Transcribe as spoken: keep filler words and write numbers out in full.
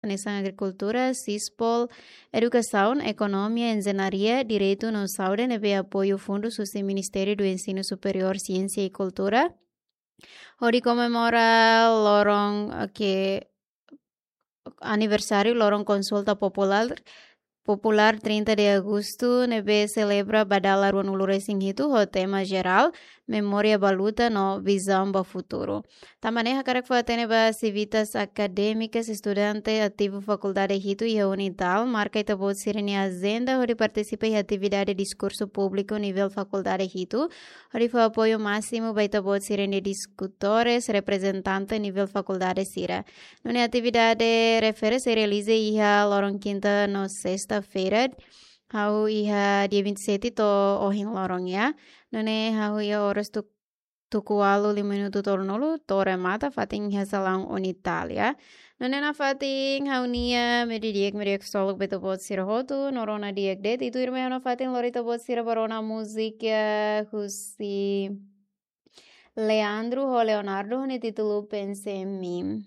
hanesan agrikultura, sispol, edukasaun, ekonomia, enjeñaria, direitu no saúde ne'ebé apoiu fundus husi Ministériu do Ensinu Superiór, Siénsia i Kultura. Hodi komemora loron, eh, ke aniversáriu loron konsulta populár, populár trinta de agostu, ne'ebé selebra ba dala ruanulu-resin-hitu ho tema jerál, memória ba luta no vizaun ba futuru. Tanba ne'e hakarak fó-hatene ba sivitas akadémikas, estudante ativu Fakuldade hitu iha UNITAL, marka ita-boot sira-nia ajenda hodi partisipa iha atividade diskursu públiku nivel Fakuldade hitu, hodi fó apoiu másimu ba ita-boot sira-nia diskutores, reprezentante nivel fakuldade sira. Nune'e atividade refere sei realiza iha loron kinta no sesta-feira, hahú iha dia vinte e sete to'o ohin loron, ya. Nune'e hahú iha oras tu-, tuku ualu lima minutu tolunulu to'o remata fatin iha salaun UNITAL, ya. Nune'e nafatin ha'u-nia media di'ak, media di'ak ksolok ba ita-boot sira hotu, no rona di'ak de'it, tuirmai ha'u nafatin lori ita-boot sira ba rona múzika husi Leandro ho Leonardo, ho nia títulu Pensei em Mim.